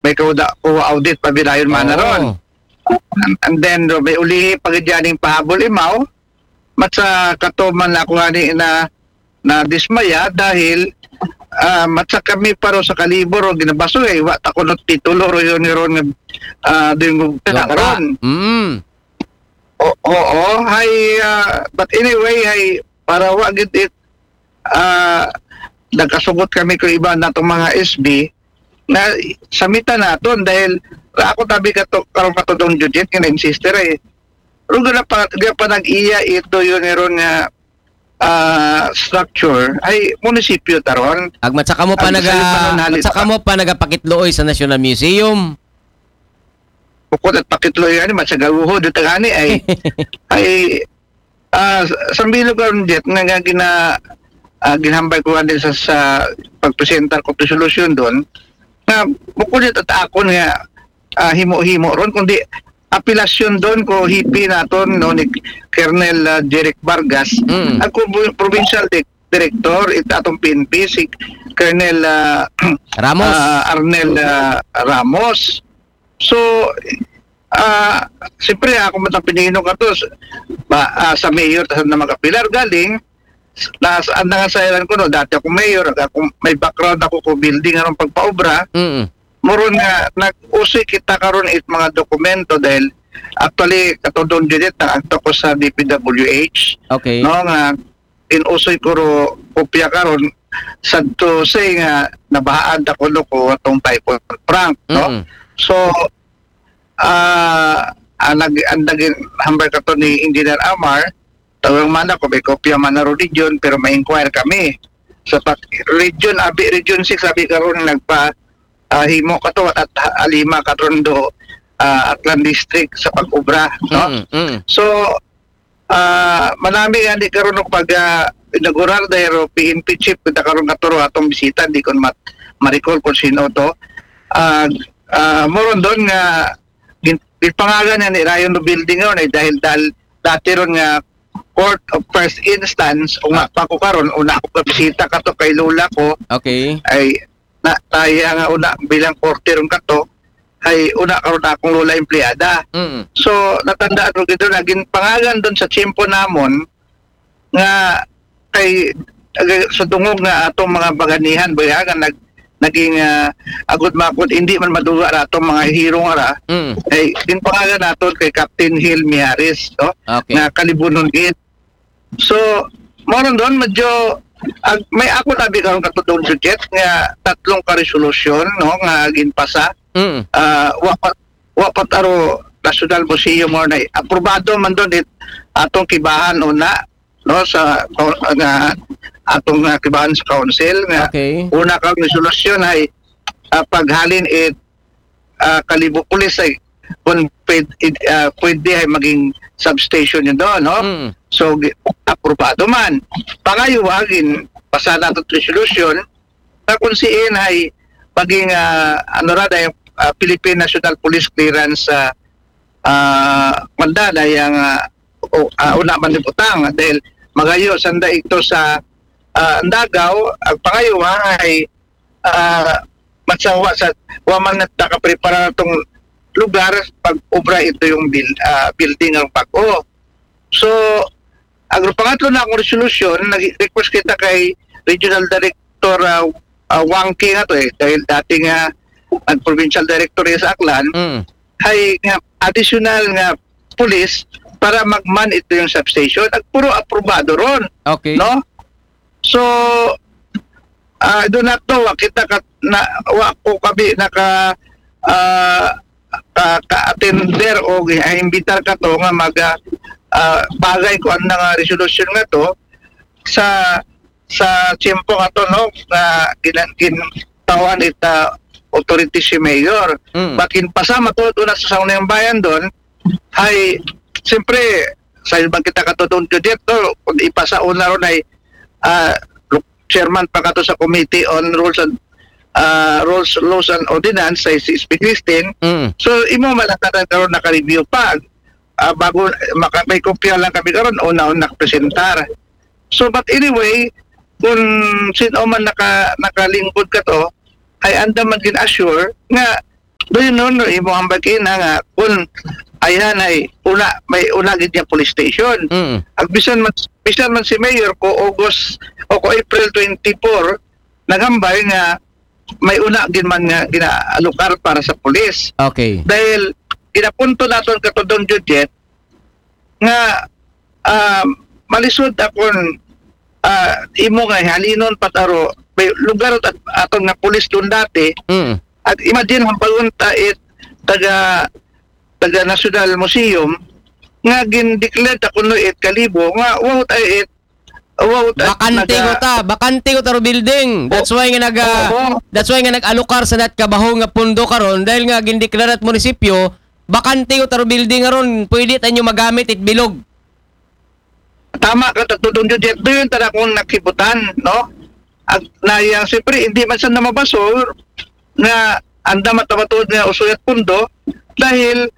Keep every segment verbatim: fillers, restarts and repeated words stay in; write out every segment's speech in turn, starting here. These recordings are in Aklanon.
may kauda, kuha audit pa bidayon man na ron. Oo. And, and then, may ulihi pag dyaning pahabol imaw, matsa kato man ako nga ni na, na dismaya dahil ah, matsa kami paro sa kalibor o ginabaso eh, wa ta kuno titulo ro yun ni ron nga ah, dingog Lupa. karon. Mm. O, oo, hay, ah, but anyway, hay, para wa gid it, ah, nagkasugot kami ko iba natong mga S B, na samita naton dahil ra ako tabi kato, karong katudong Judith, nga na-insister eh. Pero gana pa, gana pa nag-iya ito yun ni ron nga ah, structure, ay munisipyo taron. Ag matsaka mo pa Ang naga sayo pa nun, halit matsaka pa. mo pa nagapakitluoy sa National Museum. Bukod at pakitloy ani, matsagaluho dito gani ay, ay, ah, sambilog karon jet nga, nga gina, ah, ginhambay ko ani sa, sa pagpresentar ko resolution doon. Nga, bukod ito at akon nga, ah, himo-himo ron, kundi apelasyon doon ko hipi naton no ni Colonel ah, Jeric Vargas. Mm. Ako bu- provincial di- director, it atong P N P, si Colonel ah, Ramos. ah, Arnel ah, Ramos. So, ah, siyempre, ako matang pinino ka to, ba, ah, sa mayor, sa na mag-apilar, galing, na, ang nangasailan ko, no, dati ako mayor, ako, may background ako ko building, anong pagpaobra, Mm. muron nga, nag-usoy kita karon it mga dokumento dahil actually, katudong dito, nag-agto ko sa D P W H, Okay. no, nga inusoy ko ro kopya karon sa to say nga nabahaan ta kuno ko atong Typhoon Frank, no? Mm. So, ah, ang nag ang naging hambal kato ni Engineer Amar, tawag man ako, may kopya man na ro region, pero may inquire kami. Sa pag region, abi region six, abi karon nagpa ah, himo kato at, at alima karon do ah, Aklan District sa pag-obra, no? Mm, mm. So, ah, manami nga di karon og pag ah, inaugurar dahil ro P N P chief kita karon katuro atong bisita, di ko mat marikol kung sino to. Ah, ah, moron doon nga gin- gipangalan nga ni Rayon no building ron ay dahil dahil dati ron nga court of first instance, una pa ko karon, una ko bisita kato kay lola ko, Okay. ay na, naya nga una bilang korte ron kato, ay una karon akong lola empleyada. Mm. So, natandaan ko gito, naging pangalan doon sa tiyempo namon nga kay ag- sa dungog nga atong mga baganihan, boy, ha, nga nag, naging ah, agud makod, hindi man maduga ra atong mga hirong ra. Mm. Ay, din pangalan naton kay Captain Hill Miares, no? Okay. Nga kalibunon gid. So, mo ron doon, medyo ag, may ako tabi karon katudong budget nga tatlong ka resolution, no, nga ginpasa. Mm. Ah, wa pa wa pa taro National Museum mo na aprobado man doon it atong kibahan una, no, sa nga atong ah, kibahan sa council nga Okay. una ka resolution ay ah, paghalin it ah, Kalibo Police ay kung pwede, ah, pwede ay maging substation yun doon, no? Mm. So, gi- aprobado man. Pangayuwa, gin pasada to resolution na kung siin ay maging ah, ano ra dahil ah, Philippine National Police Clearance sa ah, manda dahil ang ah, o, ah, una man ni butang dahil magayo sanda ito sa ah, ang dagaw, ang pangayuwa ay ah, matsawa sa wa man nagtakaprepara natong lugar pag obra ito yung build, ah, building ang bago. So, ang pangatlo na akong resolution, nag-request kita kay Regional Director ah, ah, Wangke nga to eh, dahil dati nga ang provincial director niya sa Aklan, Mm. ay nga additional nga police para magman ito yung substation. At puro aprobado ron, Okay. no? So, ah, do not know, wa kita ka, na, wa ko kabi naka ah, ka, ka-attender o imbitar ka to nga mag ah, ah, bagay ko ang nga resolution nga to sa sa tiyempo nga to, no, nga ginan gintawan ita authority si mayor. Mm. Bakin pasama to doon sa sangunayang bayan doon, ay siyempre sa ibang kita katutong judit to, kung ipasa una ron ay ah, chairman pa kato sa Committee on Rules and ah, Rules, Laws and Ordinance sa si S P Christine. Mm. So imo malakadan karon naka-review pa. Ah, bago maka may kopya lang kami karon, una-una nakapresentar. So but anyway, kung sino man naka nakalingkod ka to, ay anda man gin-assure nga Doon nun, imo ang bakina nga, kung ayan ay una, may una gid niya police station. Mm. Ang bisan man, bisan man si Mayor ko August o ko April twenty-four, nagambay nga may una gid man nga ginaalokar para sa police. Okay. Dahil ginapunto naton katudong Juliet nga ah, malisod akon ah, imo nga halinon pataro may lugar at aton nga pulis doon dati. Mm. At imagine ang pagpunta it taga taga National Museum nga gin-declare ta kuno it Kalibo nga wow ta it wow ta Bakante ko ta, bakante ko taro building. That's why nga nag ah, Oo. That's why nga nag-alokar sa nat kabaho nga pundo karon dahil nga gindeklarat munisipyo, bakante ko taro building karon, pwede ta nyo magamit it bilog. Tama ka, tatudong Juliet, doon tara kung nakibutan, no? At na yang siyempre hindi man sa namabasol nga anda matamatod nga usuyat pundo dahil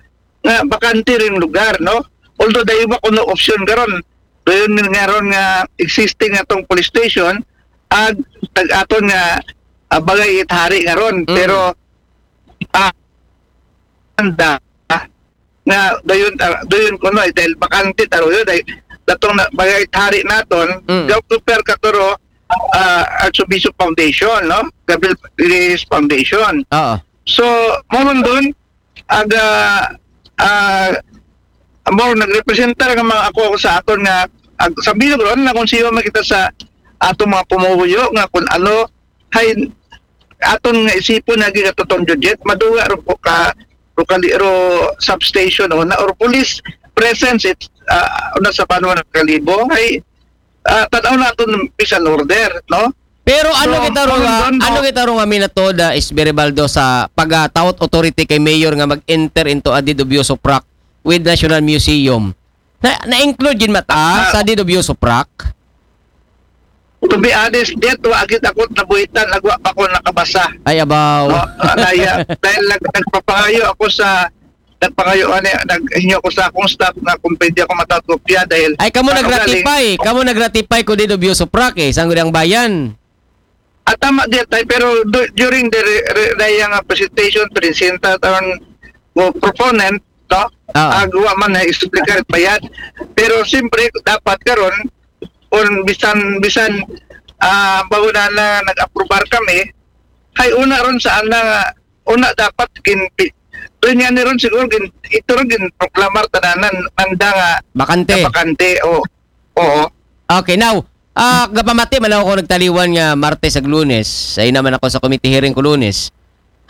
nga bakante rin lugar, no? Although dahil ba kuno option karon, doon nga ron nga existing atong police station ag tag-aton nga ah, bagay ithari nga ron. Mm. Pero ah, anda nga doon ah, doon kuno eh, dahil bakante taro yun dahil datong na, bagay ithari naton Mm. gaw super katuro uh, Archbishop Foundation, no? Gabriel Reyes Foundation. Oo. So, mo ron doon, aga, ah, mo nagrepresenta nga mga ako, ako sa aton nga, ag, sa bilog ron, na kung siyo makita sa atong mga pumuhuyo, nga kung ano, hay, aton nga isipon nga gigatotong Juliet, maduga ro po ka, ro kali, ro substation o na, or police presence, it, ah, una sa banwa ng Kalibo, hay, ah, tanaw naton peace and order, no? Pero ano So, kita ro nga, ang ganda. Ano kita ro nga minatoda is Beribaldo sa pagataot authority kay mayor nga mag-enter into a deed of usufruct with National Museum. Na, na-include gid mata Ah. Sa deed of usufruct? To be honest, Jet, wa agit ako nabuhitan, nagwa pa ko nakabasa. Ay abaw. No? Anaya, dahil nag, nagpapangayo ako sa nagpangayo ani naghinyo ko sa akong staff nga kung pwede ako matakopya dahil Ay kamo ano nag-ratify, kamo nag-ratify ko deed of usufruct eh, Sangguniang Bayan. At tama di tay pero du- during the re, re, re, nga presentation presenta taron mo proponent, no? Ah. Agawa man na explicar bayad. Pero siyempre dapat karon kung bisan bisan ah bago na, na nag-aprobar kami, hay una ron sa ana nga una dapat gin doon nga ni ron siguro gin ito ron gin proklamar tananan anda nga Bakante. Bakante o oo. Okay, now, ah, gapamati man ako nagtaliwan nga Martes ag Lunes. Ay naman ako sa committee hearing ko Lunes.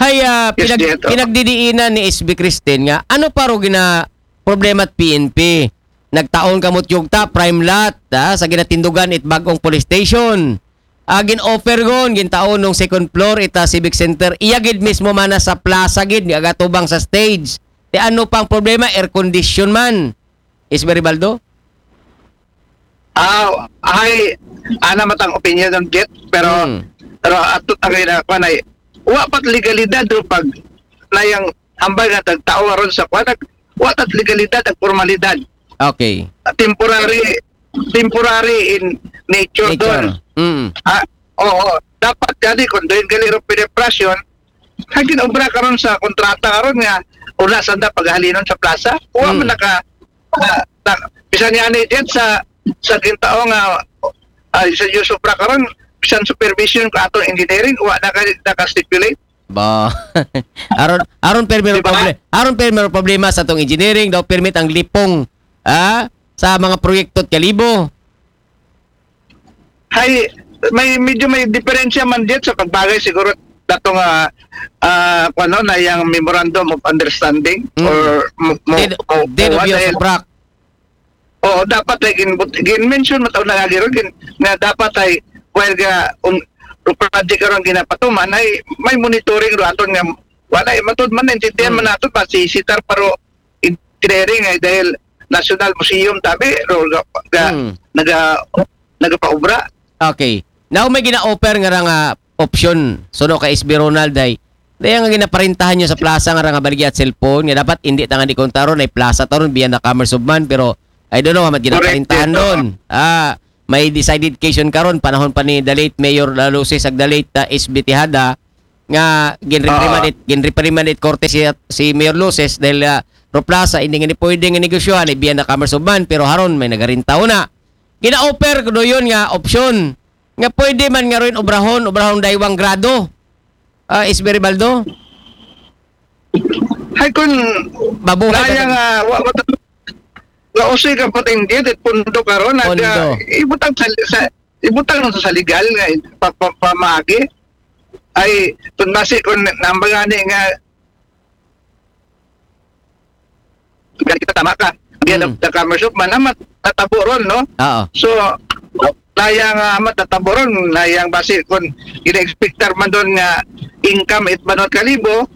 Hay, ah, Yes, pinag- Jet, oh. Pinagdidiinan ni S B Christine nga ano pa ro gina problema at P N P. Nagtaon ka mo tiyog ta, prime lot, ah, sa ginatindugan it bagong police station. Ah, gin-offer gon, gintaon nung second floor ita civic center. Iya gid mismo mana sa plaza gid, ni agatubang sa stage. Ti ano pang problema, air condition man. Is Beribaldo? Ah, ay ana matang opinion ng Jet pero Hmm. pero ato tagay na kuan ay wa pat legalidad do pag na yang hambal nga tagtao aron sa kuan nag wa tat legalidad at formalidad. Okay. Temporary temporary in nature, Nature. Doon. Mm. Ah, oo, dapat gani kung doon gali ro piniprasyon, kagin obra karon sa kontrata karon nga una sanda paghalinon sa plaza. Wa Hmm. man naka ah, na, bisan niya ni Jet sa sa gintao nga ah, sa Yusufra karon bisan supervision ko atong engineering wa naka naka-stipulate. Ba. Aron aron permi Di ba? Problem. Aron permi problema sa tong engineering daw permit ang lipong ah sa mga proyekto at Kalibo. Hay may medyo may diferensya man diyan sa pagbagay siguro datong ah ah, ano na yung memorandum of understanding Mm. or mo, mo, Deed, mo- deed of mo- usufruct. Oo, dapat ay gin, gin mention mo taon na lagi ron gin, nga dapat ay while ga un, project karon ginapatuman ay may monitoring ro aton nga wala ay matod man naintindihan Hmm. man nato ba si Sitar paro engineering ay dahil National Museum tabi ro ga, ga Hmm. naga nagapaubra. Okay. Now may gina-offer nga ra nga option. Suno kay S B Ronald ay daya nga ginaparintahan nyo sa plaza nga ra nga baligya at cellphone nga dapat hindi tangan di kontaron ay plaza taron biya na commerce of man pero I don't know hamat ginaparintahan Correct, ron. Ah, may decided case yun karon panahon pa ni the late Mayor Lalusis ag the late uh, S B Tejada nga ginreprimand it, ginreprimand it korte si, si Mayor Luces dahil, ah, Ro Plaza, hindi nga ni pwede nga negosyohan, ibiyan na Commerce of Man, pero haron may nagarintaw na. Gina-offer ko doon nga opsyon. Nga pwede man nga rin obrahon, obrahon daywang grado. Ah, Isberibaldo? Ay, kung Mabuhay kaya ka. nga, wa mo ta-, nga usoy ka patinggit, it pundo karon, nag, Pundo. ah, ibutang sa, sa, ibutang sa, sa legal nga, pa, pa, pamagi. Ay, kung basi, kung nambagani nga, kita tama ka. Di Mm. na the Commerce of Man, naman, tatabo ron, no? Oo. So, layang uh, matataboron, layang basi kung ina-expectar man doon nga income it banwa kalibo,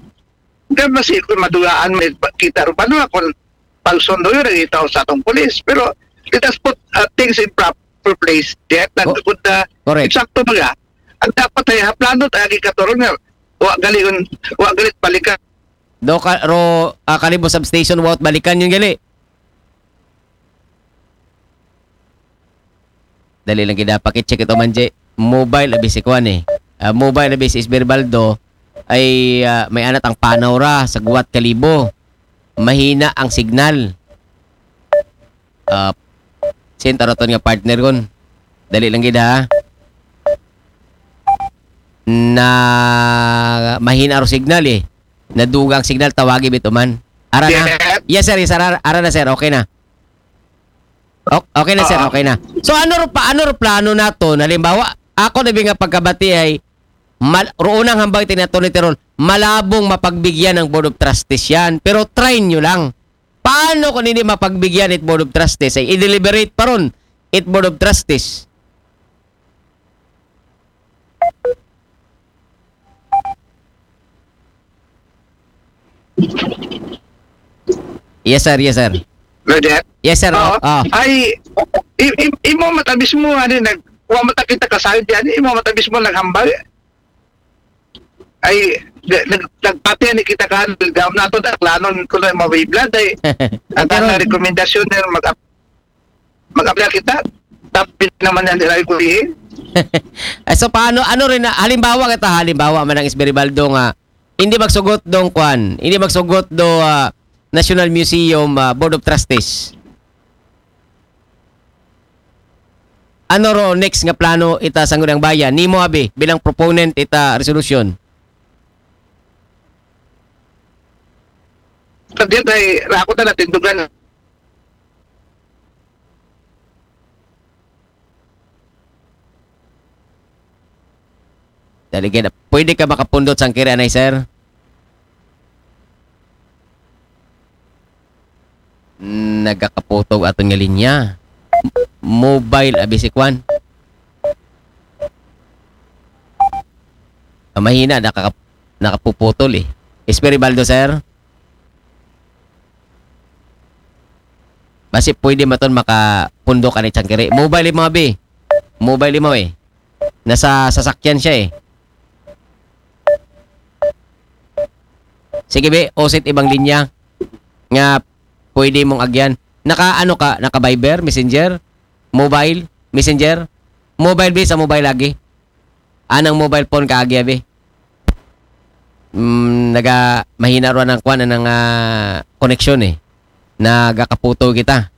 nga basi kung madugaan mo it kita ro banwa kung pagsundo yun, nagitaw sa atong pulis. Pero let us put uh, things in proper place. Diyan, Co- nagkakod na Correct. Eksakto mga. Ang dapat ay haplano tayo katuron nga wa galing, wa galit balikan. Do ka, ro, ah, Kalibo Substation, without balikan yun gali. Dali lang kita, pakicheck ito man, Jay. Mobile, abi si Kwan eh. Ah, mobile, abi si Isberibaldo, ay ah, may anat ang panaw ra sa guwat Kalibo. Mahina ang signal. Ah, sin taraton nga partner kon. Dali lang gid ha. Na mahina ro signal eh. Naduga ang signal, tawagi bituman. Ara na. Yes. Yes sir, yes sir. Ara, ara na sir, okay na. O- Okay na sir, Oo. Okay na. So ano ro pa, ano ro plano nato? Halimbawa, ako na nga pagkabati ay mal, roon ang hambay tinato ni Teron, malabong mapagbigyan ng Board of Trustees yan. Pero try nyo lang. Paano kung hindi mapagbigyan it Board of Trustees? Ay i-deliberate pa ron it Board of Trustees. Yes sir, yes sir. Roger? Yes sir. Oo. Oh. Ay, i- i- imo matabis mo, ano, nag, wa mata kita kasal diyan, imo matabis mo naghambal. Ay, nag, nagpati ni kita kan, daw nato da, planon ko na mawibla, day. Ang Pero- ang rekomendasyon na mag, mag-apply kita, tapi naman yan nila kulihin. Eh, so paano, ano rin na, halimbawa kita, halimbawa man ang Isberibaldo nga, hindi magsugot dong kwan, hindi magsugot do ah, National Museum ah, Board of Trustees. Ano ro next nga plano ita Sangguniang Bayan? Nimo abi bilang proponent ita resolusyon. Kadiyat ay rako ta natindugan. Dali gid. Pwede ka makapundot sang kiri anay, sir? Nagakaputog aton nga linya. Mobile abi si Kwan. Ah, mahina, nakaka- nakapuputol eh. Isberibaldo, sir? Basi pwede maton makapundok ani sang kiri. Mobile mo abi. Mobile mo eh. Nasa sasakyan siya eh. Sige be, usit ibang linya nga pwede mong agyan. Naka ano ka, naka Viber, Messenger, mobile, Messenger, mobile be, sa mobile lagi. Anang mobile phone ka agi abi. Mm, naga mahina ro ang kwan ang ah, koneksyon eh. Nagakaputo kita.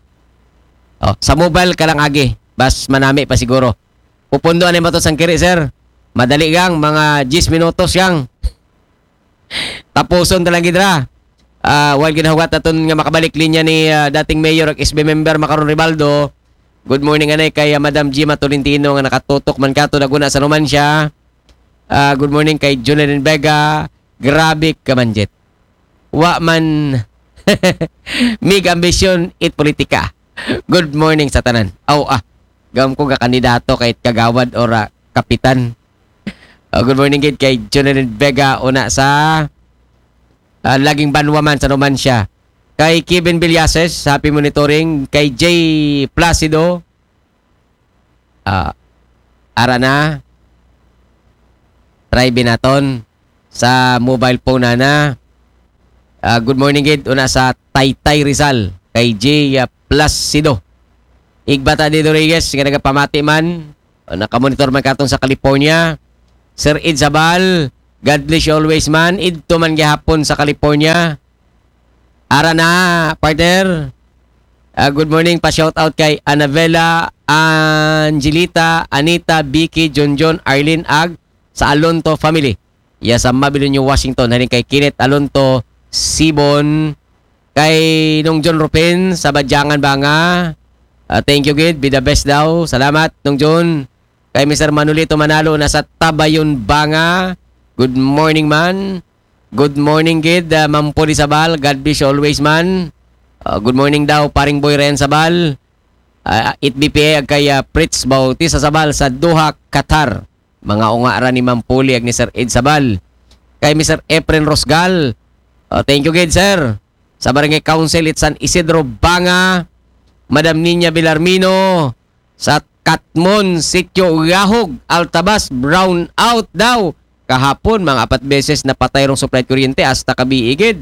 Oh, sa mobile ka lang agi. Bas manami pa siguro. Pupundo ani mato sang kiri, sir. Madali gang mga diyes minutos yang. Tapuson ta lang gid ra. Ah, while ginahugat aton nga makabalik linya ni ah, dating mayor ug S B member Macaron Ribaldo. Good morning anay kay ah, Madam Gima Tolentino nga nakatutok man kato naguna sa Numancia. Ah, good morning kay Junelin Vega. Grabe ka man, Jet. Wa man mig ambisyon it politika. Good morning sa tanan. Aw ah. Gam ko ga kandidato kay kagawad or ah, kapitan. Ah, good morning gid kay Jonelyn Vega una sa ah, laging banwa man sa Numancia. Kay Kevin Villases, happy monitoring. Kay Jay Placido, ah, ara na. Try binaton sa mobile phone na na. Ah, good morning gid una sa Taytay Rizal kay Jay ah, Placido. Igbata di Rodriguez nga nagapamati man, ah, nakamonitor man katon sa California. Sir Ed Sabal, God bless you always, man. Idto man gihapon sa California. Ara na, partner. Ah, good morning, pa shout out kay Anabella, Angelita, Anita, Vicky, Junjun, Arlene, ag sa Alonto family. Ya sa Mabilo, New Washington, halin kay Kenneth Alonto, Sibon, kay Nong John Rupin sa Badyangan, Banga. Ah, thank you gid, be the best daw. Salamat, Nong John. Kay Mister Manolito Manalo na sa Tabayon, Banga. Good morning, man. Good morning gid, ah, Ma'am Poli Sabal. God bless you always, man. Ah, good morning daw, paring Boy Ryan Sabal. Ah, it B P A ag kay, ah, Fritz Bautista Sabal sa Doha, Qatar. Mga unga ra ni Ma'am Poli ag ni Sir Ed Sabal. Kay Mister Efren Rosgal. Ah, thank you gid, sir. Sa Barangay Council it San Isidro, Banga. Madam Niña Villarmino sa Katmon, Sitio Gahog, Altabas, brown out daw. Kahapon, mga apat beses napatay rong supply kuryente, hasta kabiigid.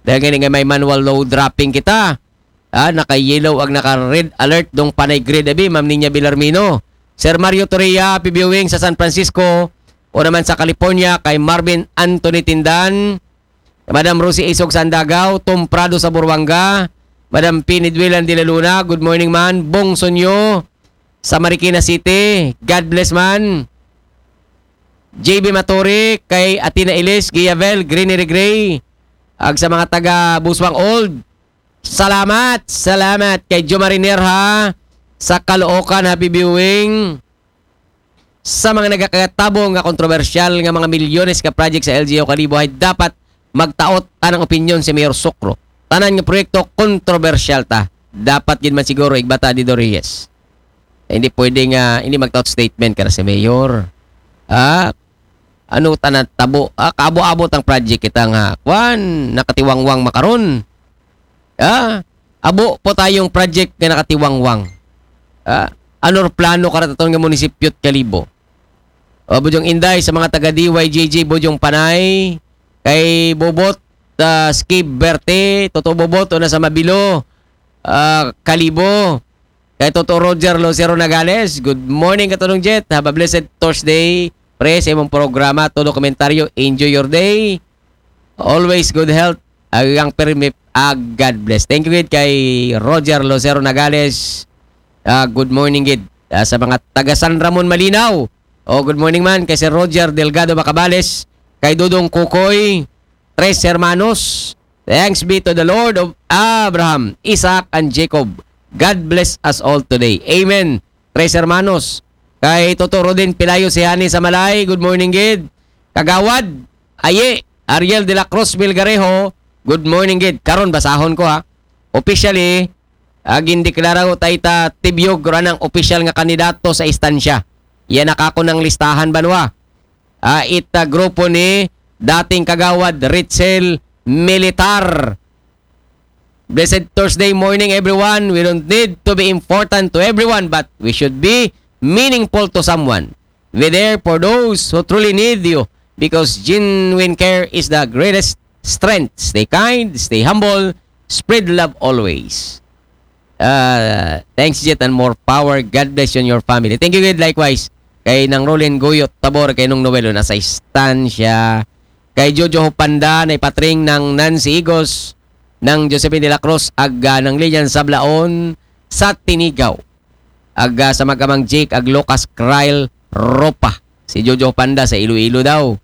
Dahil nga nga may manual load dropping kita. Ah, naka-yellow ag naka-red alert dong panay grid abi, Ma'am Niña Villarmino. Sir Mario Torria, happy viewing sa San Francisco. O naman sa California, kay Marvin Anthony Tindan. Madam Rosie Isog sa Andagaw, Tom Prado sa Buruanga, Madam Pinidwilan de la Luna, good morning, man. Bong Sonyo sa Marikina City, God bless, man. J B Maturi, kay Athena Ilis, Giavel, Greeny Regray, ag sa mga taga Buswang Old. Salamat, salamat kay Jomari Nerha sa Caloocan, happy viewing. Sa mga nagakatabo nga kontrobersyal nga mga milyones ka project sa L G U Kalibo, hay dapat magtaot tanang opinyon si Mayor Sokro. Tanan nga proyekto kontrobersyal ta. Dapat gid man siguro igbata ni Dorius. Eh, hindi pwede nga hindi magtaot statement ka na si Mayor. Ah, ano tanan tabo? Ah, kaabo-abo tang project kita nga kwan, nakatiwangwang makaron. Ah, abo po tayong project nga nakatiwangwang. Ah, ano plano karataton nga munisipyo it Kalibo? O, Bujong Inday, sa mga taga D Y G G, Bujong Panay, kay Bobot, ah, Skib Berte, Toto Bobot, o na sa Mabilo, ah, Kalibo. Kay Toto Roger Lucero Nagales, good morning, Katulong Jet. Have a blessed Thursday. Pre, sa imong programa, todo komentaryo, enjoy your day. Always good health. Agang permit, ah, God bless. Thank you gid kay Roger Lucero Nagales. Ah, good morning gid. Ah, sa mga taga San Ramon Malinaw. Oh, good morning man kay Sir Roger Delgado Macabales, kay Dodong Kukoy, Tres Hermanos. Thanks be to the Lord of Abraham, Isaac, and Jacob. God bless us all today. Amen. Tres Hermanos. Kay Toto Rodin Pilayo si Hani sa Malay. Good morning gid. Kagawad, Aye, Ariel de la Cruz Vilgarejo. Good morning gid. Karon basahon ko ha. Officially, ah, gindeklara ko tay ta Tibyog ra nang opisyal nga kandidato sa istansya. Yan nakako ng listahan banwa. Ah, it, ah, grupo ni dating kagawad Richel Militar. Blessed Thursday morning, everyone. We don't need to be important to everyone, but we should be meaningful to someone. Be there for those who truly need you, because genuine care is the greatest strength. Stay kind, stay humble, spread love always. Uh, thanks, Jet, and more power. God bless you and your family. Thank you, good, likewise. Kay Nang Rolin Guyot Tabor, kay Nung Noel, nasa istansya. Kay Jojo Hopanda, na ipatring ng Nancy Igos, ng Josephine de la Cruz, ag, ah, ng Lilian Sablaon sa Tinigaw. Ag, ah, sa magamang Jake, ag Lucas Krile Ropa. Si Jojo Hopanda sa Iloilo daw.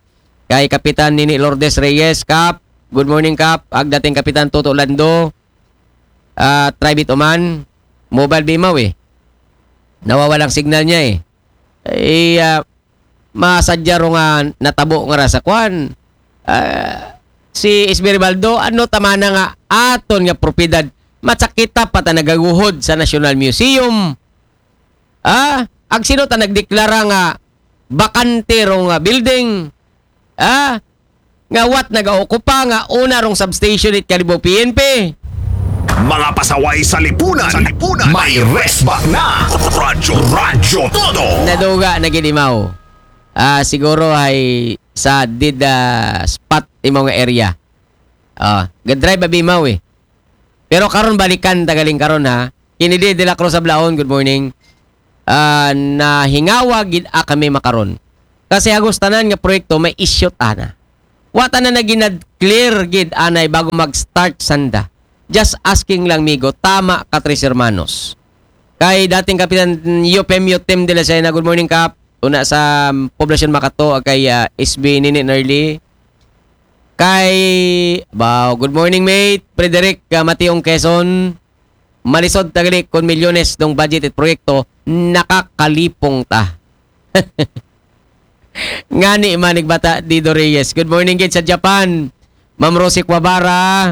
Kay Kapitan Nini Lourdes Reyes, Kap. Good morning, Kap. Ag dating Kapitan Toto Lando. Ah, try bit uman. Mobile bimaw eh. Nawawalang signal niya eh. Eh, ah, masadya ro nga natabo nga ra sa kwan. Ah, si Esmeribaldo, ano tamana nga aton nga propiedad? Matsakita pa ta nagaguhod sa National Museum. Ah, ag sino ta nagdeklara nga bakante ro nga building? Ah, nga wat nagaokupa nga una rong substation it Kalibo P N P. Mga pasaway sa lipunan, sa lipunan, may resbat na. Radyo, Radyo Todo. Naduga na gid imaw. Ah, siguro ay sa did, ah, spot imo nga area. Ah, ga-drive abi imaw eh. Pero karon balikan ta galing karon ha. Kennedy de la Cruz Sablaon, good morning. Ah, nahingawa gid a kami makaron. Kasi hagos tanan nga proyekto may issue ana. Wa tanan na ginad-clear gid anay bago mag-start sanda. Just asking lang, migo. Tama ka, Tres Hermanos. Kay dating Kapitan Yupem Yutem de la Sena, good morning, Kap. Una sa, um, Poblacion Makato, kay, ah, S B Nini Nerly. Kay, wow, good morning, mate. Frederick, ah, Mationg Quezon. Malisod ta gali kon milyones dong budget it proyekto, nakakalipong ta. Ngani man, igbata Dido Reyes. Good morning gid sa Japan. Ma'am Rosie Kuwabara,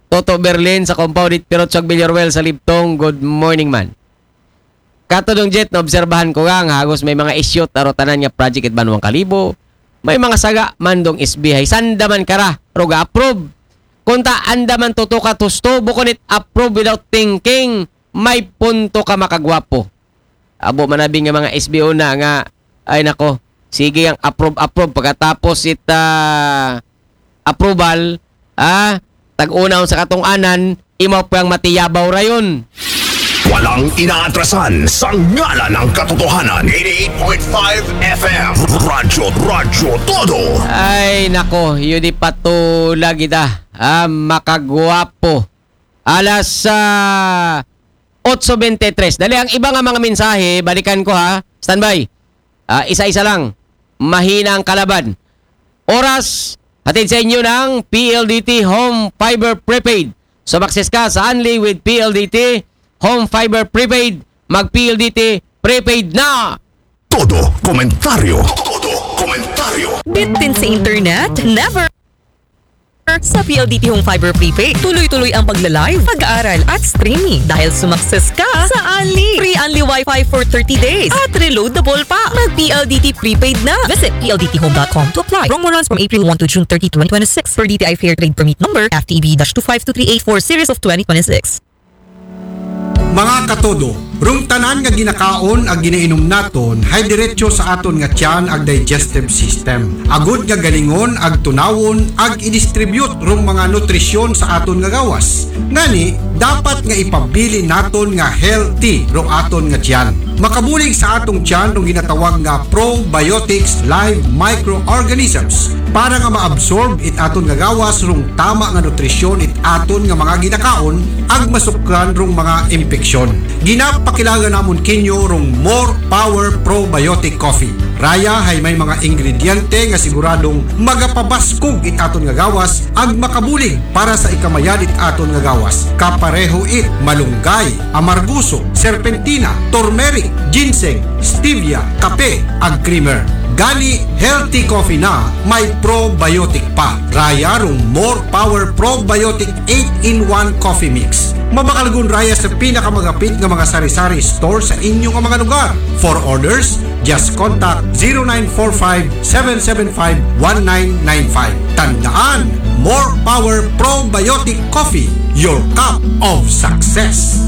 Toto Berlin sa compound it Pirot Sog Villarroel sa Libtong. Good morning man. Kato dong Jet, naobserbahan ko nga, nga hagos may mga issue taro tanan nga project it Banwang Kalibo. May mga saga man dong S B I. Sanda man kara, ro ga-approve. Kunta anda man tutukat husto, bukon it approve without thinking. May punto ka, makagwapo. Abo manabi nga mga S B O na nga, ay nako, sige ang approve, approve. Pagkatapos it, ah, approval, ah, tag-una sa katong anan, imaw pang matiyabaw rayon. Walang inaatrasan sa ngalan ng katotohanan. Eighty-eight point five F M. Radyo, Radyo Todo. Ay nako, yun di patula kita. Ah, makagwapo. Alas, ah, otso bente tres. Dali, ang iba nga mga mensahe, balikan ko ha. Standby. Ah, isa-isa lang. Mahina ang kalaban. Oras, hatid sa inyo ng P L D T Home Fiber Prepaid. Sumakses ka sa Anli with P L D T Home Fiber Prepaid. Mag-P L D T Prepaid na! Todo komentaryo. Todo komentaryo. Bitin sa internet? Never! Sa P L D T Home Fiber Prepaid, tuloy-tuloy ang pagla-live, pag-aaral at streaming dahil sumakses ka sa Anli. Free Anli Wi-Fi for thirty days at reloadable pa. Mag-P L D T Prepaid na. Visit P L D T home dot com to apply. Promo runs from April one to June thirty, twenty twenty-six, per D T I Fair Trade Permit Number F T B dash two five two three eight four series of twenty twenty-six. Mga katodo, rong tanan nga ginakaon ag ginainom naton hay diretso sa aton nga tiyan ag digestive system. Agud nga galingon ag tunawon ag i-distribute rong mga nutrisyon sa aton nga gawas. Ngani, dapat nga ipabilin naton nga healthy rong aton nga tiyan. Makabulig sa atong tiyan rong ginatawag nga probiotics live microorganisms para nga ma-absorb it aton nga gawas rong tama nga nutrisyon it aton nga mga ginakaon ag masukran rong mga impeksyon. Ginapakilala namon kinyo rong More Power Probiotic Coffee. Raya hay may mga ingrediente nga siguradong magapabaskog it aton nga gawas ag makabulig para sa ikamayad it aton nga gawas. Kapareho it malunggay, amarguso, serpentina, turmeric, ginseng, stevia, kape, ag creamer. Gani, healthy coffee na may probiotic pa. Raya rong More Power Probiotic eight-in-one Coffee Mix. Mabakalgon raya sa pinakamagapit nga mga sari-sari store sa inyo nga mga lugar. For orders, just contact zero nine four five, seven seven five, one nine nine five. Tandaan, More Power Probiotic Coffee, your cup of success.